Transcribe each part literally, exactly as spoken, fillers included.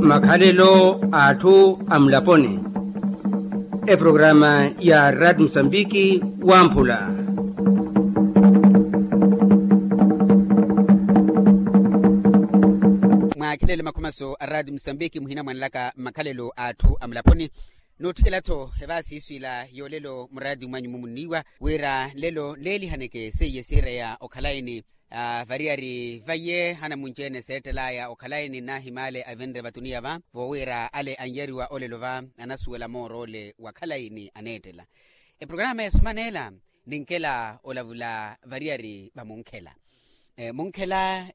Makhalelo a atthu a mulaponi. Eprograma ya rad musambiki wamphula. Mwaakhelele makhumaso a rad musambiki muhina mwanlaka makhalelo a atthu a mulaponi. Nootthikela-tho evaasiiswila yoolelo muraati mwanyu mumunniiwa wira nlelo nleelihaneke seiye siireya okhalayi ni variyari vaiye hana munci-ene seettel'aya okhalayi ni nnahimaale avinre vatuniya va voowira ale anyariwa olelo va anasuwela moor'ole wa khalayi ni aneettela. Eprograma ya suman'ela ninkela olavula variyari va munkhela. Munkhela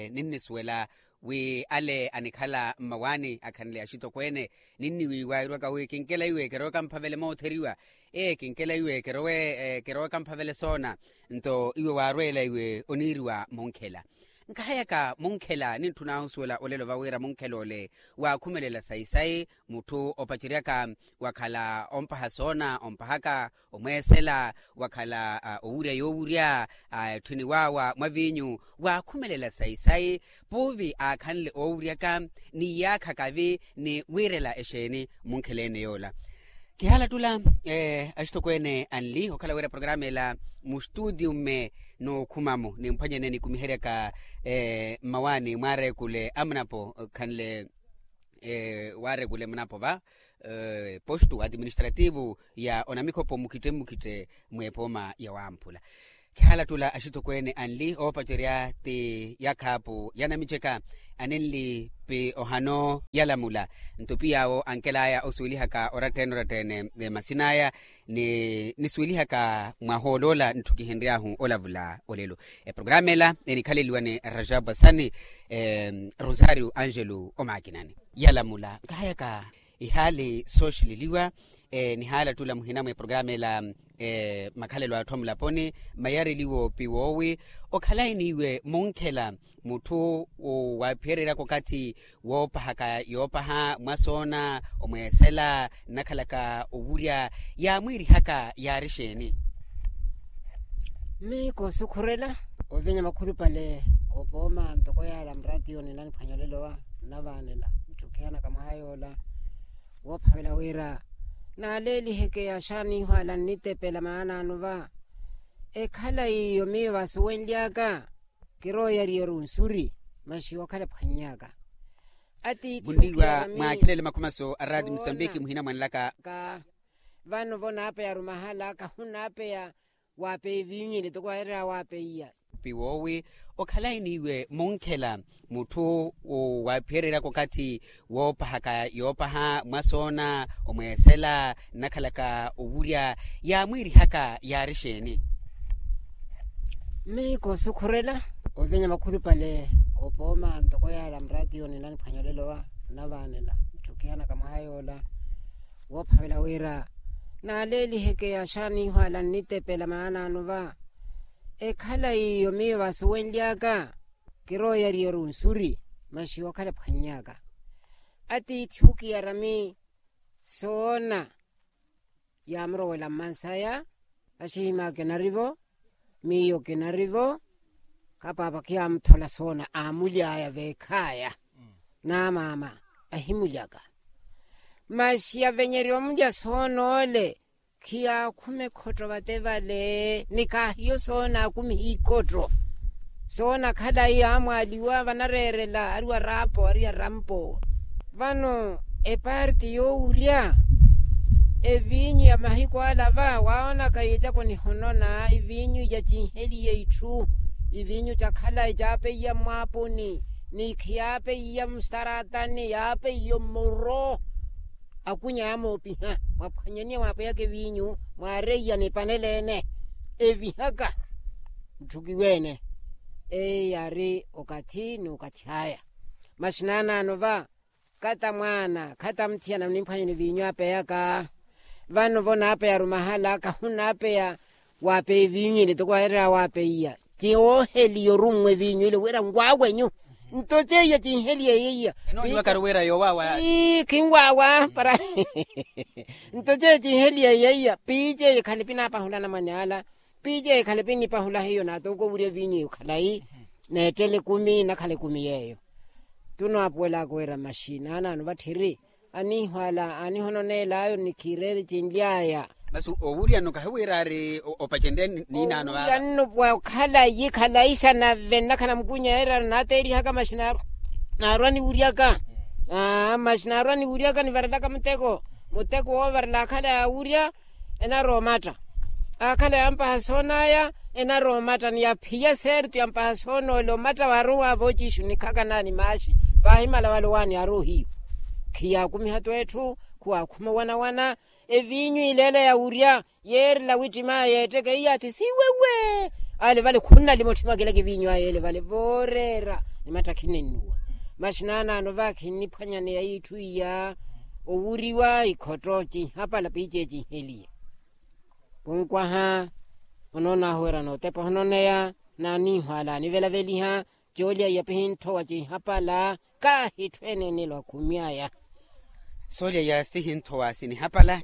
ninnisuwela wi ale anikhala mmawaani akhanle axitokweene ninniwiiwa irwaka wi kinkela iwe keroweka mphavele mootheriwa. Ee kinkela iwe keroweka mphavele soona. Nto iwe waarweela iwe oniiriwa munkhela. Nkahayaka munkhela nintthuna ohusuwela olelo va wira munkhela ole waakhumelela sayi-sayi mutthu opaceryaka wakhala ompaha soona ompahaka omweesela wakhala owurya yoowurya etthini waawa mwa viinyu waakhumelela sayi-sayi puuvi aakhanle oowuryaka ni iyaakha kavi ni wiirela exeeni munkhela ene yoola. Kihaala ttula axitokweene anli okhala wira programa ela mustuutiyu mme nookhuma-mo nimphwanyene nikumiheryaka mmawaani mwaareekule amunapo khanle waarekule munapo va postu administrativu ya onamikhopo mukhitte mmukhitte mweepooma ya wamphula. Khihaala ttula axitokweene anli oopacerya ti yakhaapu yanamiceka aninli pi ohano yalamula. Nto piyaawo ankel'aya osuwelihaka orattene orattene masin'aya ni nisuwelihaka mwaha oloola ntthu kihinry'ahu olavula olelo. Eprograma ela enikhaleliwa ni rajabu asani rosario angelo omaakinani yalamula nkahayaka ihaali sooxileliwa. Nihaala ttula muhina mweprograma ela makhalelo a atthu a mulaponi mayareliwo piwoowi okhalayi n'iwe munkhela mutthu waaphiyereryaka okathi woopahaka yoopaha mwasoona omweesela nnakhalaka owurya yaamwiirihaka yaari xeeni? Mmi koosukhurela ovinya makhulupale oopooma ntoko yaala muraatiyo ninaniphwanya olelowa nnavaanela ntthukhiyanaka mwaha yoola woophavela wira naaleeliheke axaanihu ala nnitepela maanaanu va. Ekhalayi iyo miyo vaasuwenly'aka kirooyariya orunsuri masi yookhala ephwanny'aka. Atiithi munniiwa mwaakhelele makhumaso a raati musambiki muhina mwanlaka. Vano vo naapeya arumahala kahu naapeya waapeya eviinyu ile toko waawererya waapeiya. Piwoowi okhalayi n'iwe munkhela mutthu waaphiyereryaka okathi woopahaka yoopaha mwasoona omweesela nnakhalaka owurya yaamwiirihaka yaari xeeni? Mmi koosukhurela ovinya makhulupale oopooma ntoko yaala muraatiyo ninaniphwanya olelowa nnavaanela ntthukhiyanaka mwaha yoola woophavela wira naaleeliheke axaanihu ala nnitepela maanaanu va. Ekhalayi iyo miyo vaasuwenly'aka kirooyariya orunsuri masi yookhala ephwanny'aka. Atiithi okiyarami soona yaamurowela mmansaya axihim'aka enari-vo miyo kinari-vo. Khapaapa khiyaamuthola soona aamuly'aya veekh'aya n'amaama ahimuly'aka. Masi avenyerya omulya soona ole khiyaakhuma ekhotto vate vale ni kaahiyo soona aakumiha ikhotto. Soona khalayi aamwaaliwa vanareerela ariwa raapo ariya rampo. Vano eparti yoowurya eviinyu ya mahiku ala va waawonaka yeecaka onihonona iviinyu ya cinheliye itthu. Iviinyu ca khalayi caapeiya mmwaaponi ni khiyaapeiya mustaraatani yaapeiya mmuro. Akunya amoopiha mwaphwanyaniya mwaapeyaka eviinyu mwaareiya ni panele-ene evihaka ntthukiwe-ene. Eyi yaari okathi n'ukathi aya. Masi naanaano va khata mwaana khata mutthiyana munimphwanyeni viinyu aapeyaka. Vano vo naapeya arumahala kahu naapeya waapeya eviinyu ile toko waawererya waapeiya ti wooheliya orummwa eviinyu ile wira nwaawenyu. Nto ceiya cinheliye yeiya enooniwakari wira yowaawa. Ii khinwaawa para. Nto ceiya cinheliye yeiya piiceiya ekhale pinaapahula anamwane ala. Piiceiya ekhale pinnipahula hiyo naatoko owurya eviinyu eyo khalayi neettela ekumi nakhala ekumi yeeyo. Tunaapuwelaka wira maxi naanaano vatthiri aniihwala aanihononeel'ayo ni khiireeri cinly'aya. Masi owuryano kahiwira ari opacenrye niinaano vava. Owuryano wa okhalayi khalayi xa nave nnakhala mukunya yeerano naateerihaka maxi naarwa niwuryaka. Maxi naarwa niwuryaka nivarelaka muteko muteko woovarela akhala yaawurya. Enarowa omatta akhala yampaha soonaya. Enarowa omatta ni yaphiya seertu yampaha soonoola omatta waarowa vooci ixu nikhaka naani maaxi. Vaahimala wala owaani yaarowa ohiyu khiyaakumiha-tho etthu khuwaakhuma owana-wana. Eviinyu ileela yawurya yeerela wittim'aya yeetteke iyaathi siiwewe. Ale vale khunnalima otthimwakelaka eviinyu aya ele vale vooreera. Ni matta khinennuwa maxi naanaano vaakhinniphwanyaneya itthu iya owuriwa ikhotto cinhapala piice cinheliye. Kunkwaha onoon'ahu wira nootepa ohononeya naaniihwala anivelaveliha. Coolya iya pihinthowa cinhapala kaahitthu eneenelo akhumi aya. Soolya iya sihinthowa sinihapala.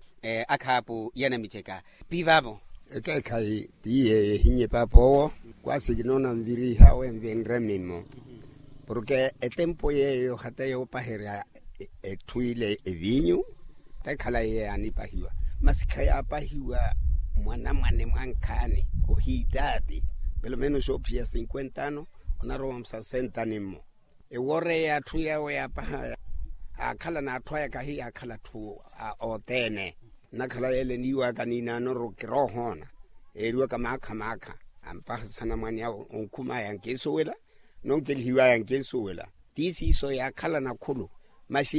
Akhaapu yanamiceka pi vaavo. Ekeekhayi ti yeeyo ehinnye paapa owo. Kwaasi kinoona nviriha wenvenre mimmo porke etempo yeeyo hata yoopaherya etthu ile eviinyu. Tekhala yeeyo yaanipahiwa masi khayaapahiwa mwanamwane mwankhaani ohiitaati. Pelo menos oophiya cinquenta ano onarowa musasenta nimmo. Eworeya atthu yawo yaapaha aakhala n'atthu aya kahiyaakhala atthu othene. Nnakhala yeele eniiwaka niinaanoru kiroohoona eeriwaka maakha maakha ampaha sanamwane awo onkhum'aya ankeesuwela nonkelihiw'aya ankeesuwela. Ti siiso yaakhala nakhulu maxi